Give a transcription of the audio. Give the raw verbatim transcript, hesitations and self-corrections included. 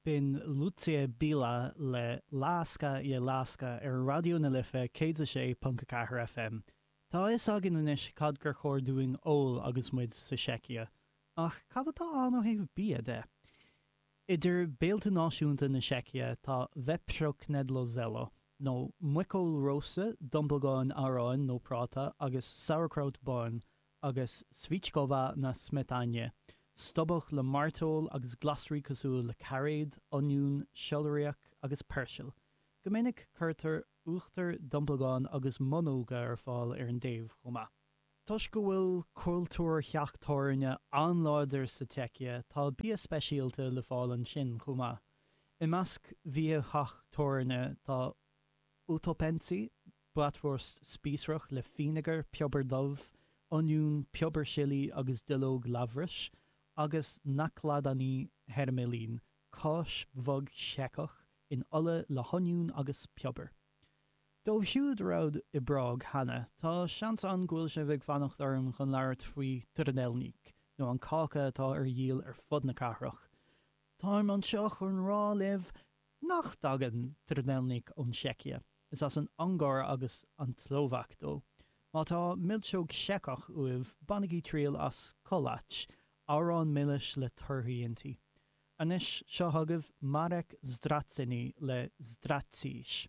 B'in Lucie Bílá le Láska je láska ar Raidió na Life céad a sé ponc a ceathair FM. Tá a fhios againn anois cad gur chóir dúinn ól agus muid sa Seicia, ach cad atá ann ó thaobh bia de? Idir béilte náisiúnta na Seicia tá vepřo knedlo nó muiceoil rósta, dumplagáin aráin nó práta agus sauerkraut bán, agus svíčková na smetaně, stobhach le mairteoil agus glasraí cosúil le cairéad, oinniún, seiliriac agus peirsil. Go minic cuirtear uachtar dumplagán agus munóga ar fáil ar an dtaobh chomh maith. Toisc go bhfuil cultúr theach tábhairne an-láidir sa tSeicia, tá bia speisialta le fáil ansin chomh maith. I measc bhia theach tábhairne tá utopenci, bratwurst spíosrach le fínéagar, piobar dubh, oinniún, piobar sillí agus duilleog labhrais, agus nakladaný hermelín, cáis bhog Seiceach in ola le hoinniún agus piobar. Dóibh siúd a raibh i bPrág cheana, tá seans ann go bhfuil sibh ag fanacht orm chun labhairt faoi trdelník, nó an cáca atá ar dhíol ar fud na cathrach. Táim anseo chun rá libh nach dtagann trdelník ón Seicia, is as an Ungáir agus an tSlóvaic dó. Má tá milseog Seiceach uaibh, bainigí triail as koláč, arán milis le torthaí inti. Anois seo chugaibh Marek Ztracený le Ztratíš.